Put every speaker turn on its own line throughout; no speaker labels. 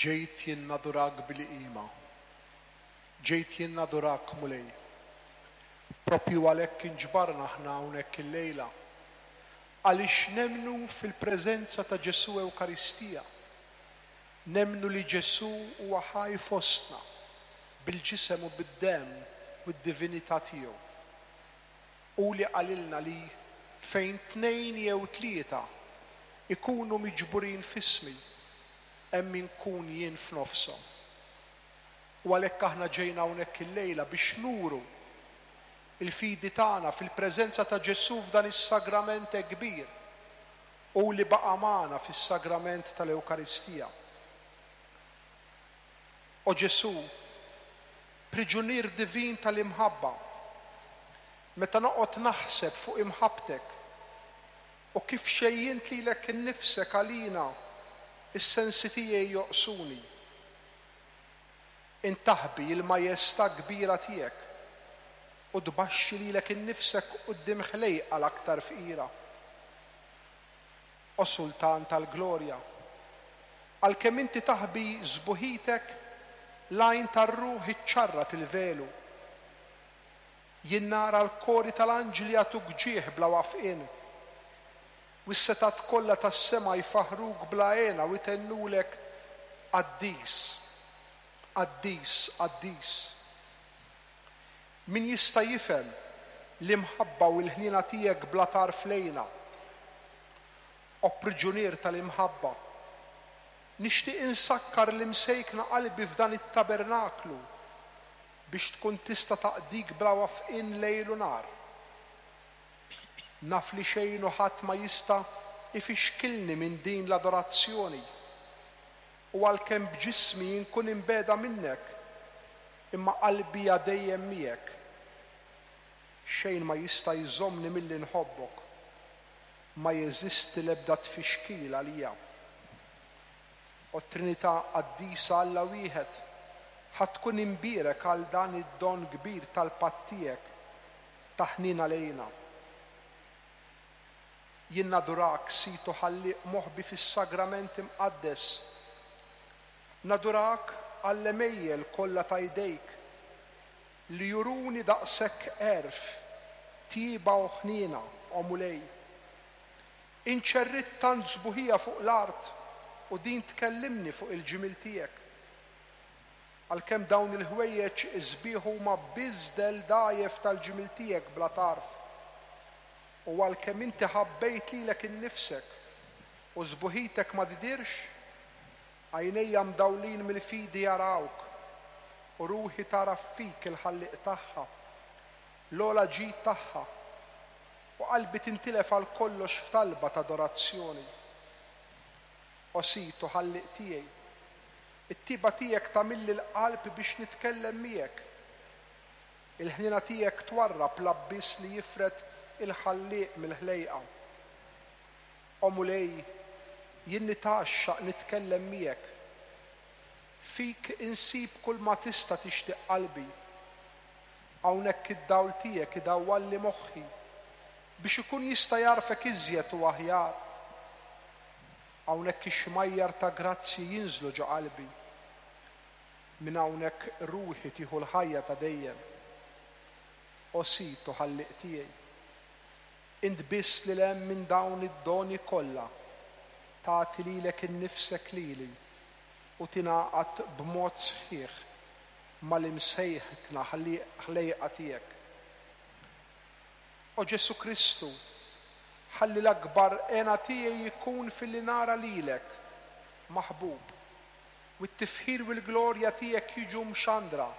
Ġejt jien nadurak bil-qima. Ġejt jien nadurak, Mulej. Proprju għalhekk inġbarna aħna hawnhekk illejla. Għaliex nemmnu fil-preżenza ta' Ġesù Ewkaristija. Nemmnu li Ġesù huwa ħaj fostna, bil-ġisem u bid-demm u d-divinità tiegħu. Hu li qalilna li fejn tnejn jew tlieta ikunu miġburin f'ismi, hemm inkun jien f'nofshom. U għalhekk aħna ġejna hawnhekk illejla biex nuru l-fidi tagħna fil-preżenza ta' Ġesù f'dan is-sagrament hekk kbir, hu li baqa' magħna fis-sagrament tal-Ewkaristija. O Ġesù, priġunier divin tal-imħabba, meta noqgħod naħseb fuq imħabbtek u kif xejjint lilek innifsek għalina, is-sensi tiegħi joqsuni. Int taħbi l-majestà kbira tiegħek u tbaxxi lilek innifsek quddiem ħlejqa l-aktar fqira. O Sultan tal-glorja, għalkemm inti taħbi sbuħitek, l-għajn tar-ruħ iċċarrat il-velu. Jien nara l-kori tal-anġli jagħtuk ġieħ bla waqfien, u s-setgħat kollha tas-sema jfaħħruk bla hena u jtennulek, Qaddis, qaddis, qaddis. Min jista' jifhem l-imħabba u l-ħniena tiegħek bla tarf lejna? O priġunier tal-imħabba, nixtieq insakkar l-imsejkna qalbi f'dan it-tabernaklu biex tkun tista' taqdik bla wafqien lejl u nhar. Naf li xejn u ħadd ma jista' jfixkilni minn din l-adorazzjoni, u għalkemm b'ġismi inkun imbiegħda minnek, imma qalbi hija dejjem miegħek. Xejn ma jista' jżommni milli nħobbok. Ma jeżisti l-ebda tfixkil għalija. O Trinità Qaddisa Alla wieħed, ħa tkun imbierek għal dan id-don kbir tal-patt tiegħek ta' ħniena lejna. Jien nadurak, Sid u Ħallieq moħbi fis-Sagrament Imqaddes. Nadurak għall-għemejjel kollha ta' jdejk, li juruni daqshekk għerf, tjieba u ħniena, o Mulej. Int xerridt tant sbuħija fuq l-art u din tkellimni fuq il-ġmiel tiegħek. Għalkemm dawn il-ħwejjeġ sbieħ huma biss dell dgħajjef tal-ġmiel tiegħek bla tarf, u għalkemm inti ħabbejt lilek innifsek u sbuħitek ma tidhirx, Għajnejja mdawlin mill-fidi jarawk, u ruħi tagħraf fik il-Ħallieq tagħha, l-ogħla ġid tagħha, u qalbi tintilef għal kollox f'talba t'adorazzjoni. O Sid u Ħallieq tiegħi, it-tjieba tiegħek tagħmilli l-qalb biex nitkellem miegħek. Il-ħniena tiegħek twarrab l-abbiss li jifred il-Ħallieq mill-ħlejqa. O Mulej, jien nitgħaxxaq nitkellem miegħek. Fik insib kulma tista' tixtieq qalbi. Hawnhekk id-dawl tiegħek idawwalli moħħi biex ikun jista' jagħrfek iżjed u aħjar. Hawnhekk ix-xmajjar ta' grazzji jinżlu ġo qalbi. Minn hawnhekk ruħi tieħu l-ħajja ta' dejjem. O Sid u Ħallieq tiegħi, Int biss lil hemm minn dawn id-doni kollha tagħti lilek innifsek lili u tingħaqad b'mod sħiħ mal-imsejħkna ħlejqa tiegħek. O Ġesù Kristu, ħalli l-akbar hena tiegħi jkun filli nara lilek, maħbub, u t-tifħir u l-glorja tiegħek jiġu mxandra,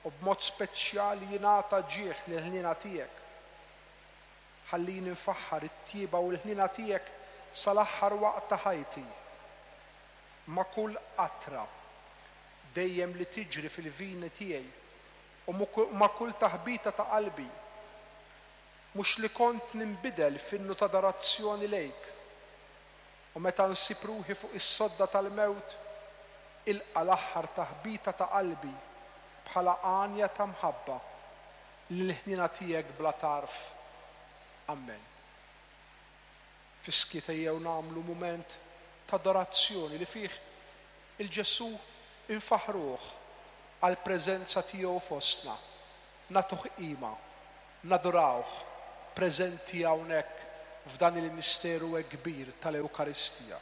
u b'mod speċjali jingħata ġieħ lill-ħniena tiegħek. Ħallini nfaħħar it-tjieba u l-ħniena tiegħek sal-aħħar waqt ta' ħajti. Ma' kull qatra dejjem li tiġri fil-vini tiegħi u ma' kull taħbita ta' qalbi, mhux li kont ninbidel f'innu t'adorazzjoni lejk, u meta nsib ruħi fuq is-sodda tal-mewt, ilqa' l-aħħar taħbita ta' qalbi bħala għanja ta' mħabba lill-ħniena tiegħek bla tarf. Ammen. Fis-skiet ejjew nagħmlu mument t'adorazzjoni li fih 'Il Ġesù infaħħruh għall-preżenza tiegħu fostna, nagħtuh qima, nadurawh preżenti hawnhekk f'dan il-misteru hekk kbir tal-Ewkaristija.